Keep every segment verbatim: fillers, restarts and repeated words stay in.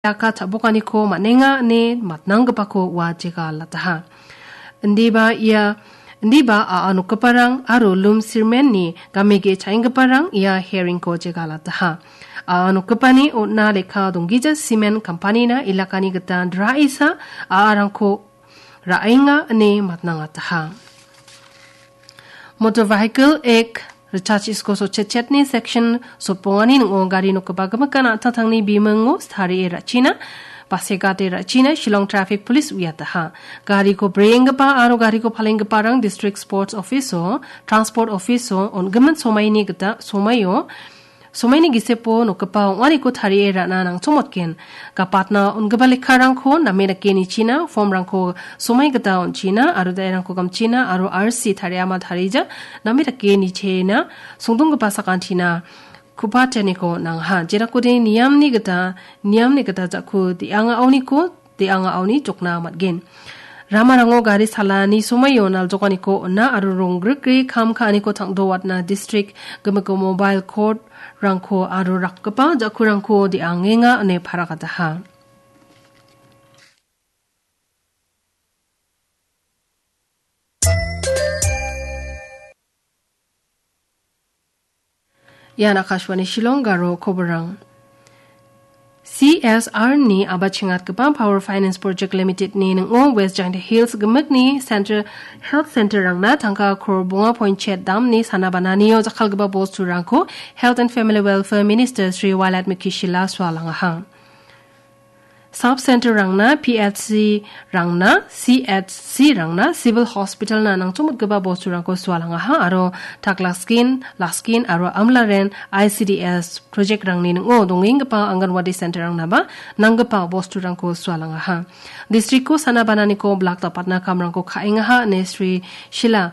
jaka cha·bokaniko man·enga ine matnanggipako ua jegalataha. Indiba ia, indiba a·a nokgiparang aro lum sirmenni gamege cha·enggiparang ia hearingko jegalataha. A·a nokgipani on·a lekka donggija simen kampanina ilakani gita draisa a·arangko ra·enga ine matnangataha. Motor Vehicle Act richachisko sotchetchetni section sotbongani ning·o gari nokgipa gimikan an·tangtangni bimingo tarie ra·china, basegate ra·china Shillong Traffic Police uiataha. Gariko breenggipa aro gariko palenggiparang District Sports Office-o, Transport Office-o on·gimin somaini gita, somaio, somaini gisepo nokgipa ong·ariko tarie ra·na nangchongmotgen. Gapatna on·gipa lekkarangko name dake nichina, formrangko somai gita on·china, aro dairangko gamchina, aro R C tariama tarija, name dake nichena, songdonggipa sakantina, kupateniko nangha. Jerakode niamni gita, niamni gita jako de·anga aoniko, de·anga aoni jokna man·gen. Ramarango gari salani somaio naljokaniko on·a aro ronggrikri kam ka·aniko tangdo watna distrik gimiko mobile court-rangko aro rakgipa jakurangko de·angenga ine paragataha. Ian Akashvani Shillong garo koborang. C S R ni abachengatgipa Power Finance Project Limited ni ning·o West Jaintia Hills gimikni Center, Health Center rangna tangka kror bonga point chet damni sana bananio jakkalgipa bosturangko Health and Family Welfare Minister Shri Wailadmiki Shylla sualangaha. Sub Center rangna, P H C rangna, C H C rangna, Civil Hospital na nangchongmotgipa bosturangko sualangaha aro Taklaskin, Laskin aro Amlaren I C D S project rangni ning·o dongenggipa Anganwadi Center rangnaba nanggipa bosturangko sualangaha. Districtko sana bananiko blak dapatna kamrangko ka·engaha ine Sri Shylla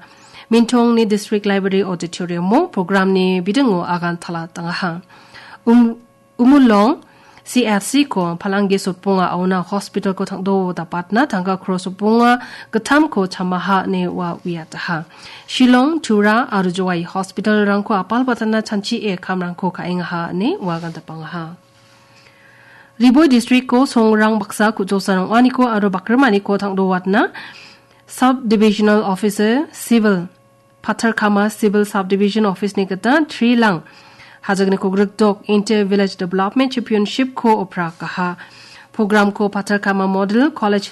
Mintongni District Library Auditorium-o programni bidingo agan talatangaha. Um, Umulong C F C-ko Palangi sotbonga aona hospital-ko tangdo dapatna tangka kror sotbonga gittamko chamaha ine ua uiataha. Shillong, Tura aro Jowai hospital-rangko apalbatana chanchie kamrangko ka·engaha ine ua gandapangaha. Riboi district-ko songrang baksa ku·josa ong·aniko aro bakrimaniko tangdo watna Sub Divisional Officer Civil Patharkama Civil Subdivision Office-ni gita Trilang Hajagniko Grikdok Inter Village Development Championship-ko oprakaha. Program-ko Patharkama Model College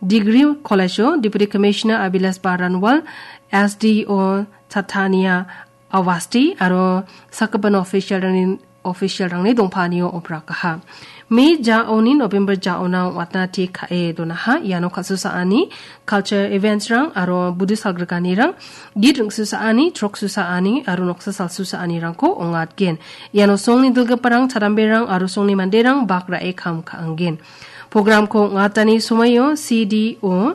Degree College-o Deputy Commissioner Abilas Baranwal, S D O Chatania Awasti aro sakgipin official-rangni, official-rangni dongpanio oprakaha. May jaoni November jaona ong·atna tik ka·e donaha. Iano kal·susaani, culture events-rang aro Buddhist salgrikanirang, git ring·susaani, chrok susaani aro noksa salsusaanirangko ong·atgen. Iano songni dilgiparang, chadamberang aro songni manderang bak ra·e kam ka·angen. Program-ko ong·atani somoio C D O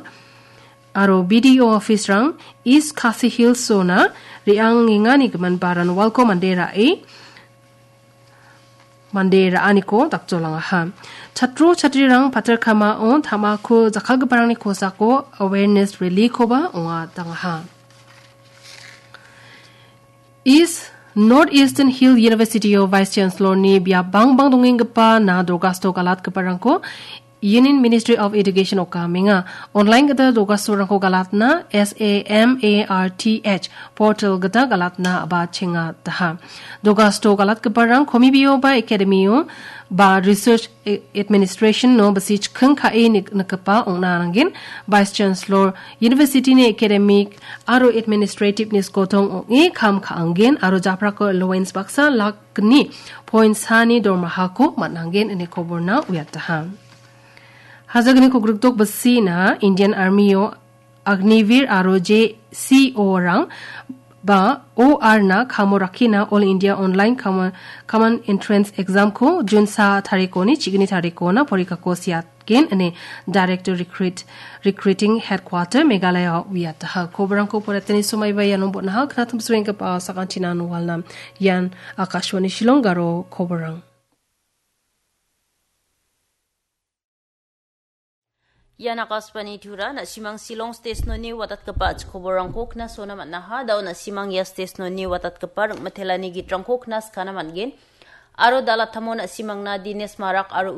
aro B D O office-rang East Khasi Hills zone-a re·angengani gimin Baranwalko mande ra·e, mande ra·aniko dakjolangaha. Chatro chatrirang Patharkamao tamako jakkalgiparangni kosako awareness rally-koba ong·atangaha. East, North Eastern Hill University-o Vice Chancellor-ni biap bangbang dongenggipa na Dorgasto galatgiparangko Union Ministry of Education okamenga. Online gita Dorgastorangko galatna S A M A R T H portal gita galatna a·bachengataha. Dorgasto galatgiparang komibioba academy-o ba research e-, administration-o bisi chikking ka·e nik-, nikgipa ong·na nanggen. Vice Chancellor University-ni academic aro administrative-ni skotong ong·e kam ka·angen aro japrako allowance baksa lak gni point sani dormahako man·angen ine koborna uiataha. Hajagniko Grikdok bisina Indian Army-o Agniveer aro J C O-rang ba O R na kamo rakkina All India Online Common, Common Entrance Exam-ko June sa tarikoni chigni tarikona porikako siat gen ine Director Recruit, Recruiting Headquarter Meghalaya uiataha. Koborangko poretani somaiba iano bon·aha. Knatumsrenggipa sakantinan walnam. Ian Akashvani Shillong garo koborang. Ian Akashvani Tura, na·simang Shillong station-oni watatgipa koborangko knasona man·aha. Dao na·simang ia station-oni watatgipa ring·mitelani gitrangko knaskana man·gen. aro dal·atamo na·simangna Dinesh Marak aro